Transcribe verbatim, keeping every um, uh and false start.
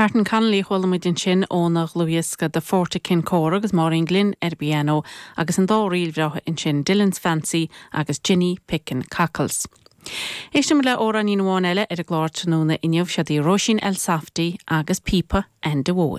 Martin Connolly chuala muid ansin óna dhlúthdhiosca The Fort at Kincora agus Máirín Glynn ar piano agus an dá ríl bhreátha ansin Dillon's Fancy agus Ginny Pickin' Cockles. Éistim le amhráinín amháin eile ar an gclár tráthnóna inniu siad í Róisín Elsafty agus Píopa Enda Mhóir.